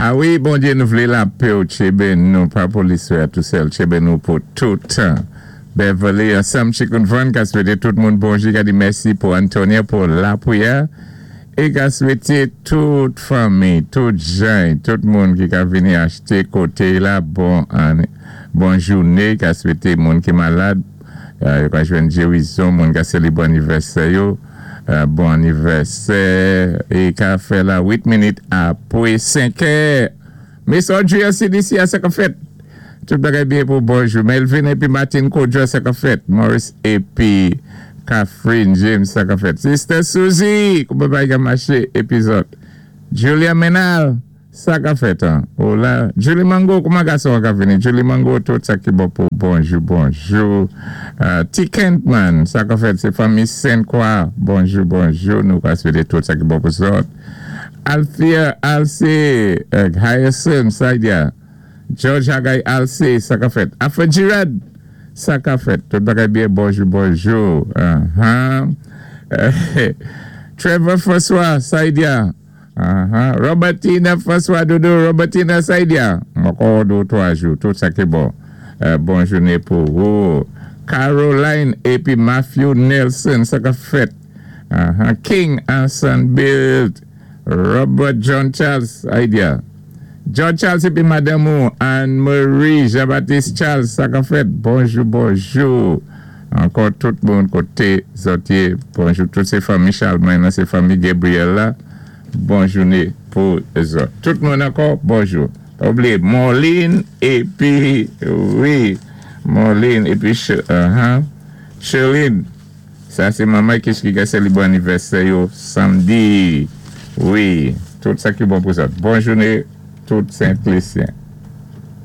A wi, Bondyé, nou vlé lapè ou tchébé nou, pa pou liswè a tou sèl, tchébé nou pou tout tan. Beverly ansanm Chicken Van ka swété tout moun bonjou, ka di mèsi pou Antonia pou lapwiyè é ka swété tout fanmi, tout jay, tout moun ki ka vini achté koté la bon ane, bon jouné, ka swété moun ki malad yo ka jwenn gérizon, moun ka sélébré anivèsè yo bon anivèsè é ka fè la 8 minit apwé 5 è. Miss Audrey an CDC a sa kap fèt? Tout bagay byen pou bonjou Melvin epi Martine Kojo sa kap fèt? Morris epi Catherine James sa kap fèt? Sister Suzy kouman bagay ka mache epi zòt Julia Menal sa kap fèt an ou la Julie Mango kouman gason an ka vini Julie Mango tout sa ki bon pou bonjou bonjou T Kentman sa kap fèt se fanmi Saint Croix bonjou bonjou nou ka swete tout sa ki bon pou zòt. Althea Alcé Hyacinth Saidia George Hagay Alcé sa ka fèt Alfred Girard sa ka fèt tout bagay byen bonjou bonjou ahan Trevor François Saidia ahan Robertina François Dodo Robertina Saidia m ankò 2 ou 3 jou tout sa ki bon bon joune pou ou Caroline epi Matthew Nelson sa ka fèt. King Anson Bilt Robert John Charles Idea John Charles épi madanm ou Anne Marie Jean Baptiste Charles sa kap fèt bonjou bonjou ankò tout moun koté zòt yé bonjou tout sé fanmi Charlemagne lan sé fanmi Gabriel la bon jouné pou zòt tout moun ankò bonjou pa bliye Morline épi wi Morline épi Sherline. Sa se manman kich ki gen selebre anivèsè yo samdi wi tout sa ki bon pou zòt bon joune tout sentlesyen.